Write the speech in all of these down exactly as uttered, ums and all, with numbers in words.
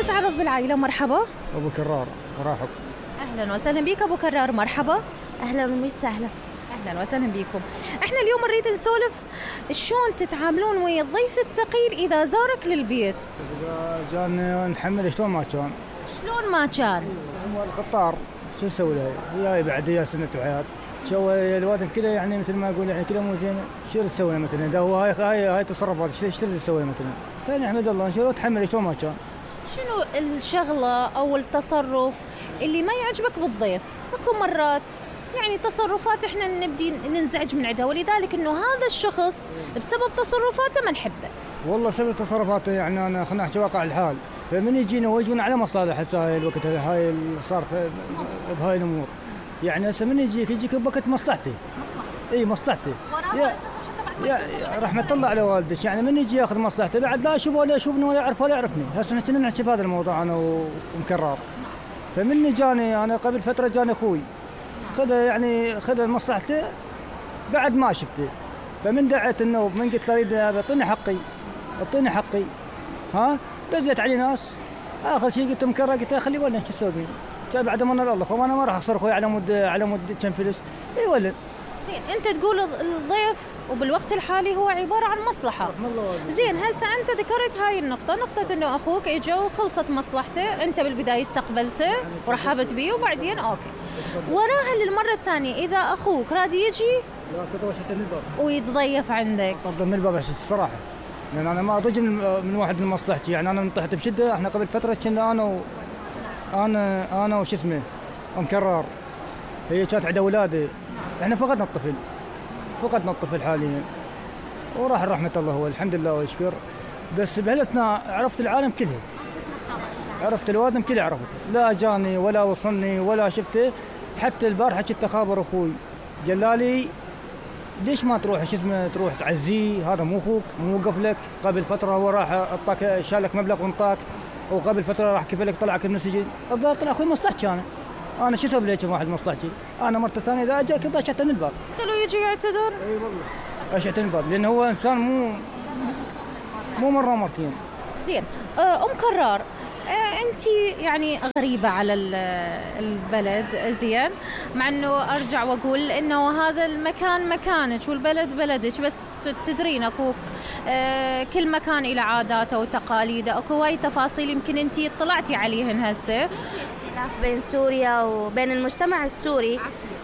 نتعرف بالعائلة. مرحبا. أبو كرار مرحب. أهلا وسهلا بك أبو كرار. مرحبا. أهلا وسهلا. أهلا وسهلا بكم. إحنا اليوم نريد نسولف شلون تتعاملون ويا الضيف الثقيل إذا زارك للبيت. إذا جان نحمل شلون ما كان. شلون ما كان؟ هو الخطار شو نسوي له؟ هي بعد هي سنة وحياة. شو الوادم كذا يعني مثل ما أقول يعني كذا مو زين. شو تسوي مثلا؟ إذا هو هاي هاي هاي تصرفات ايش تريد تسوي مثلا؟ ثاني أحمد الله شو تحمل شلون ما كان. شنو الشغلة أو التصرف اللي ما يعجبك بالضيف؟ اكو مرات يعني تصرفات احنا نبدي ننزعج من عندها، ولذلك انه هذا الشخص بسبب تصرفاته ما نحبه. والله بسبب تصرفاته يعني انا خلينا نحكي واقع الحال، فمن يجينا ويجونا على مصالح هسه هاي الوقت هاي صارت بهاي الامور. يعني هسه من يجيك يجيك بوقت مصلحتي. مصلحتي. اي مصلحتي. وراها يا رحمة الله على والدك، يعني من يجي ياخذ مصلحته بعد لا اشوفه ولا يشوفني ولا يعرف ولا يعرفني. هسه كنا نحكي في هذا الموضوع انا ومكرار. فمن جاني انا قبل فتره جاني اخوي خذ يعني خذ مصلحته بعد ما شفته، فمن دعيت النوب من قلت له اريد اعطيني حقي اعطيني حقي ها دزيت علي ناس. اخر شيء قلت مكرر قلت له خليه ولا شو اسوي بيه بعد ما انا الله خو انا ما راح اخسر اخوي على مود على مود كم فلوس. اي ولد زين انت تقول الضيف وبالوقت الحالي هو عباره عن مصلحه. زين هسه انت ذكرت هاي النقطه، نقطه انه اخوك اجى وخلصت مصلحته، انت بالبدايه استقبلته ورحبت به وبعدين اوكي وراها للمره الثانيه اذا اخوك راد يجي لا تطوشت من الباب ويتضيف عندك طرد من الباب عشان الصراحه، لان انا ما اضج من واحد من مصلحتي. يعني انا انطحت بشده. احنا قبل فتره كنا انا و... انا انا وش اسمه مكرر، هي كانت عند اولادي. احنا فقدنا الطفل فقدنا الطفل حاليا وراح رحمه الله هو الحمد لله ويشكر. بس بهالاثناء عرفت العالم كله، عرفت الوادم كله عرفت، لا جاني ولا وصلني ولا شفته. حتى البارحه كنت اخابر اخوي قال لي ليش ما تروح شو اسمه تروح تعزيه، هذا مو اخوك مو وقف لك. قبل فتره هو راح اعطاك شالك مبلغ وانطاك، وقبل فتره راح كيف لك طلعك من السجن. الظاهر طلع اخوي مصلحتي انا انا شو اسوي ليش واحد مصلحتي. انا مرته ثانيه اذا اجاك ضشعت من الباب. قلت له يجي يعتذر. اي والله ضشعت من الباب لانه هو انسان مو مو مره مرتين. زين ام كرار انت يعني غريبه على البلد زين، مع انه ارجع واقول انه هذا المكان مكانك والبلد بلدك، بس تدرين اكو كل مكان له عاداته وتقاليده، اكو هاي تفاصيل يمكن انت اطلعتي عليهن هسه. اختلاف بين سوريا وبين المجتمع السوري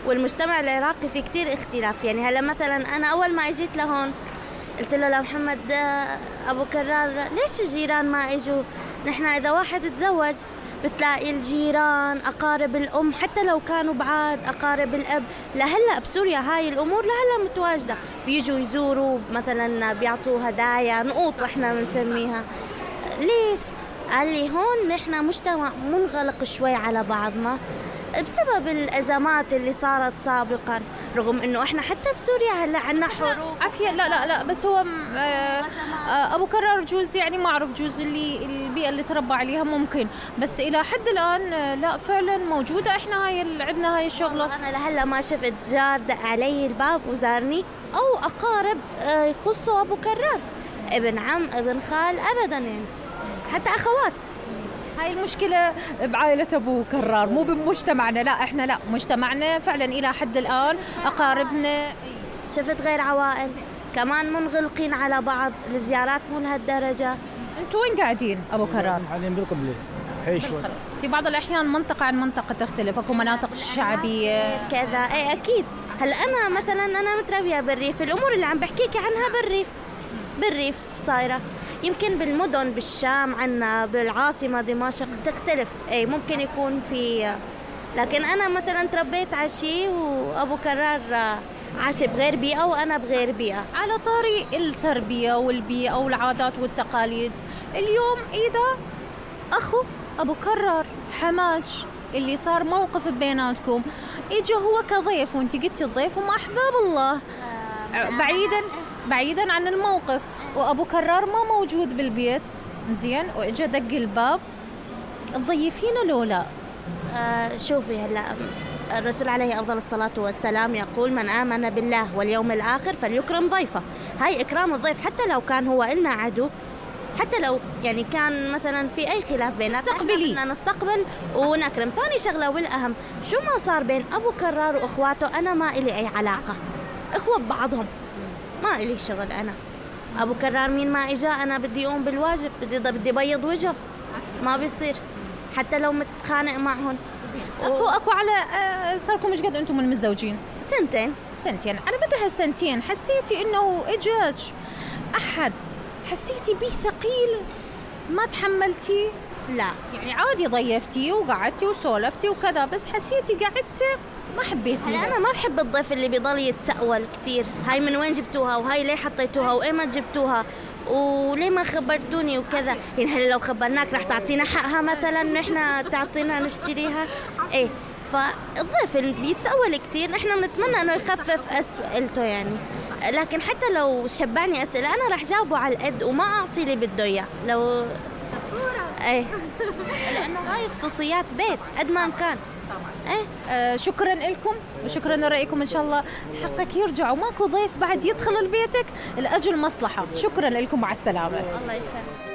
والمجتمع العراقي في كتير اختلاف. يعني هلا مثلا انا اول ما اجيت لهون قلت له لمحمد ابو كرار ليش الجيران ما اجوا؟ نحن اذا واحد تزوج بتلاقي الجيران اقارب الام حتى لو كانوا بعاد اقارب الاب. لهلا بسوريا هاي الامور لهلا متواجده، بيجوا يزوروا مثلا بيعطوا هدايا نقوط احنا بنسميها. ليش؟ قال لي هون نحن مجتمع منغلق شوي على بعضنا بسبب الأزمات اللي صارت سابقا، رغم إنه إحنا حتى بسوريا هلا عنا حروب عافية. لا لا لا بس هو آه أبو كرار جوز يعني ما أعرف جوز اللي البيئة اللي تربى عليها ممكن، بس إلى حد الآن لا فعلا موجودة. إحنا هاي عندنا هاي الشغلة. أنا لهلا ما شفت جار دق علي الباب وزارني أو أقارب يخصوا أبو كرار، ابن عم ابن خال أبدا، يعني حتى أخوات. هاي المشكلة بعائلة أبو كرار مو بمجتمعنا. لا إحنا لا مجتمعنا فعلا إلى حد الآن أقاربنا. شفت غير عوائل كمان منغلقين على بعض، الزيارات مو لهالدرجة. أنتوا وين قاعدين أبو كرار؟ حاليا بالقبلة حي شوي. في بعض الأحيان منطقة عن منطقة تختلف، أكو مناطق شعبية كذا. إيه أكيد. هلا أنا مثلا أنا متربية بالريف، الأمور اللي عم بحكيك عنها بالريف بالريف صايرة. يمكن بالمدن بالشام عنا بالعاصمة دمشق تختلف، اي ممكن يكون في، لكن انا مثلا تربيت على شيء وابو كرار عاش بغير بيئة وانا بغير بيئة. على طاري التربية والبيئة والعادات والتقاليد، اليوم اذا اخو ابو كرار حماج اللي صار موقف بيناتكم، اجى هو كضيف وانت قلتي الضيف هم احباب الله، بعيدا بعيدا عن الموقف، وابو كرار ما موجود بالبيت زين واجى دق الباب، تضيفينه لو لا؟ آه شوفي هلا الرسول عليه افضل الصلاه والسلام يقول من امن بالله واليوم الاخر فليكرم ضيفه. هاي اكرام الضيف حتى لو كان هو إلنا عدو، حتى لو يعني كان مثلا في اي خلاف بيناتنا استقبلي. بدنا نستقبل ونكرم. ثاني شغله والاهم، شو ما صار بين ابو كرار واخواته انا ما الي اي علاقه، اخوه ببعضهم، ما الي شغل. انا ابو كرار مين ما اجا انا بدي اقوم بالواجب، بدي بدي بيض وجهه، ما بيصير حتى لو متخانق معهم. اكو اكو على آه، صاركم مش قد انتم من متزوجين؟ سنتين. سنتين. على مدى هالسنتين حسيتي انه اجاك احد حسيتي بيه ثقيل ما تحملتي؟ لا يعني عادي ضيفتي وقعدتي وسولفتي وكذا، بس حسيتي قعدتي ما حبيتي؟ هلا انا ما بحب الضيف اللي بيضل يتسأل كثير، هاي من وين جبتوها وهاي ليه حطيتوها وايه ما جبتوها وليه ما خبرتوني وكذا. يعني هلا لو خبرناك رح تعطينا حقها مثلا نحن تعطينا نشتريها؟ ايه. فالضيف اللي بيتسأل كثير نحن بنتمنى انه يخفف اسئلته يعني، لكن حتى لو شبعني اسئله انا رح جاوبه على القد وما اعطي اللي بده اياه. لو شطوره. ايه لانه هاي خصوصيات بيت قد ما كان. طبعا. ايه آه شكرا لكم وشكرا لرأيكم. ان شاء الله حقك يرجع وماكو ضيف بعد يدخل لبيتك لاجل مصلحه. شكرا لكم، مع السلامه. الله يسلمك.